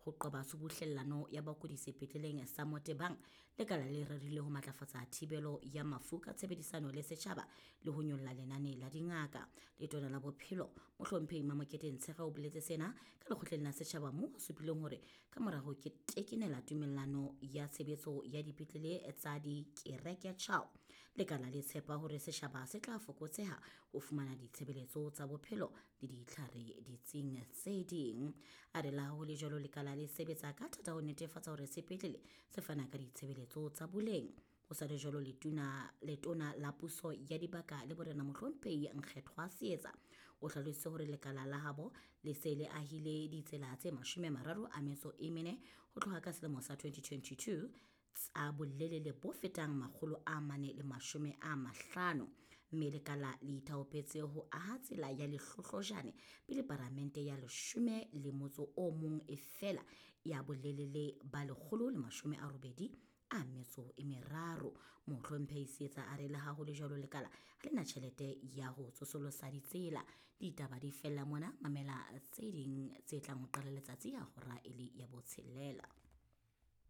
Ho qoba tshubuhlellano ya bakudi sepetleleng sa Motebang, lekala le rerile ho matlafatsa thibelo ya mafu ka tshebedisano le setjhaba le ho nyolla lenane la dingaka. Letona la Bophelo, Mohlomphehi Mamokete Ntshege o boletse sena ka lekgotleng la setjhaba moo a supileng hore ka mora ho tekenela tumellano ya tshebetso ya dipetlele tsa dikereke tjhao, lekala le tshepa hore setjhaba se tla fokotseha ho fumana ditshebeletso tsa bophelo le ditlhare ditsing tse ding. A re le ha ho le jwalo, lekala le sebetsa ka thata ho netefatsa hore sepetlele se fana ka ditshebeletso tsa boleng. Ho sa le jwalo, letona la puso ya dibaka le borena Mohlomphehi Nkgethwa Seetsa o hlalositse hore lekala la habo le se le ahile ditsela tse 34 ho tloha ka selemo sa 2022 tsa bolelele bo fetang 450, mme lekala le ithaopetse ho aha tsela ya Lehlohlojane pele paramente ya 11 e fela ya bolelele ba 183. Mohlomphehi Seetsa a re le ha ho le jwalo, lekala ha le na tjhelete ya ho tsosolosa ditsela. Ditaba di fella mona, mamela tse ding tse tlang ho qala letsatsi ya hora e le ya 6.